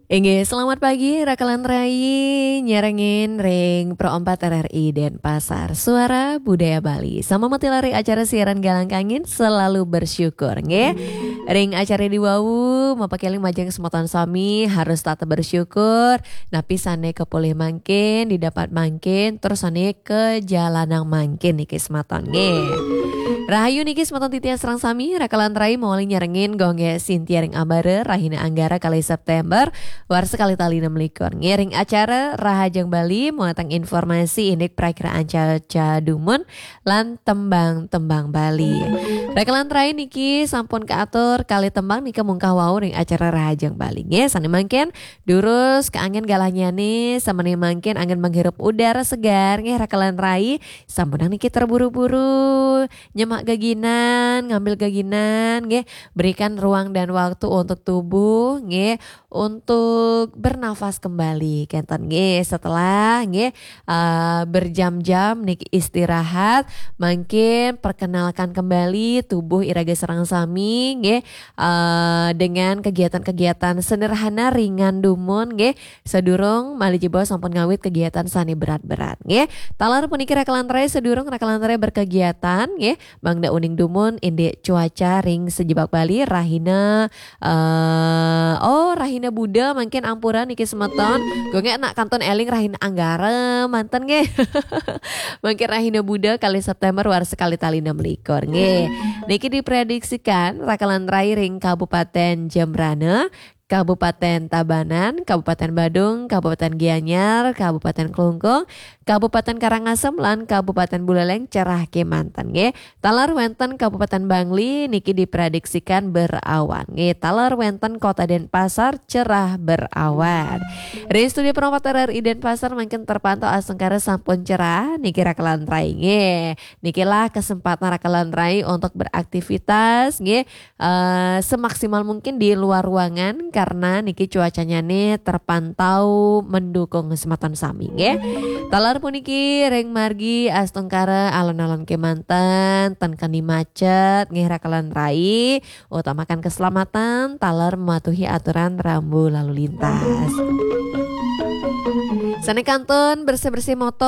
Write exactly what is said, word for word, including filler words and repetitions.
Inggih, selamat pagi, Rakalan Rai, nyarengin ring Pro empat R R I Denpasar, Suara Budaya Bali. Sama mati lari acara siaran Galang Kangin, selalu bersyukur, nggih. Ring acara di wau, mapakeling majeng semeton sami, harus tetap bersyukur. Napi sane kapolih mangkin, didapat mangkin, terus sane kajalanang mangkin niki semeton, nggih. Rahayu niki semeton titiang sareng sami, Rakalan Rai mawali nyarengin gongge Sintia ring Ambara, rahina Anggara kalih September, warsa kalih tali enam likur. Ngiring acara Rahajeng Bali, muatang informasi indik prakiraan cuaca dumun lan tembang-tembang Bali. Rakalan Rai niki sampun kaatur kalih tembang nika mungkah wau ring acara Rahajeng Bali. Nggih, sane mangkin durus kaangen galahnyane, samane mangkin angen menghirup udara segar, nggih, Rakalan Rai. Sampunang niki terburu-buru, nyemak geginan, ngambil geginan, nggih. Berikan ruang dan waktu untuk tubuh, nggih, untuk bernafas kembali, kenten, nggih. Setelah, nggih, eh, berjam-jam niki istirahat, mangkin perkenalkan kembali tubuh iraga sareng sami, nggih, eh, dengan kegiatan-kegiatan sederhana, ringan dumun, nggih. Sadurung malih jebos sampun ngawit kegiatan sane berat-berat, nggih. Taler puniki Rakalan Rai, sadurung Rakalan Rai berkegiatan, nggih. Mangda uning dumun indik cuaca ring sajebag Bali, rahina, eh, oh, rahina Buda mangkin ampura niki semeton. Gongge nak kantun eling rahina Anggara manten, nggih. Mangkin rahina Buda kalih September warsa kalih tali enam likur, nggih. Niki diprediksikan Rakalan Rai ring Kabupaten Jembrana, Kabupaten Tabanan, Kabupaten Badung, Kabupaten Gianyar, Kabupaten Klungkung, Kabupaten Karangasem, lan Kabupaten Buleleng cerah kemanten, nggih. Taler wenten Kabupaten Bangli niki diprediksikan berawan, nggih. Taler wenten Kota Denpasar cerah berawan. Ring studio Pro empat R R I Denpasar mangkin terpantau astungkara sampun cerah, niki Rakalan Rai, nggih. Nikilah kesempatan Rakalan Rai untuk beraktivitas, nggih, eh, semaksimal mungkin di luar ruangan karena niki cuacanya nih terpantau mendukung semeton sami, nggih. Taler puniki ring margi astungkara alon-alon kemanten, ten keni macet, nggih, Rakalan Rai, utamakan keselamatan, taler mematuhi aturan rambu lalu lintas. Sane kantun bersih-bersih motor,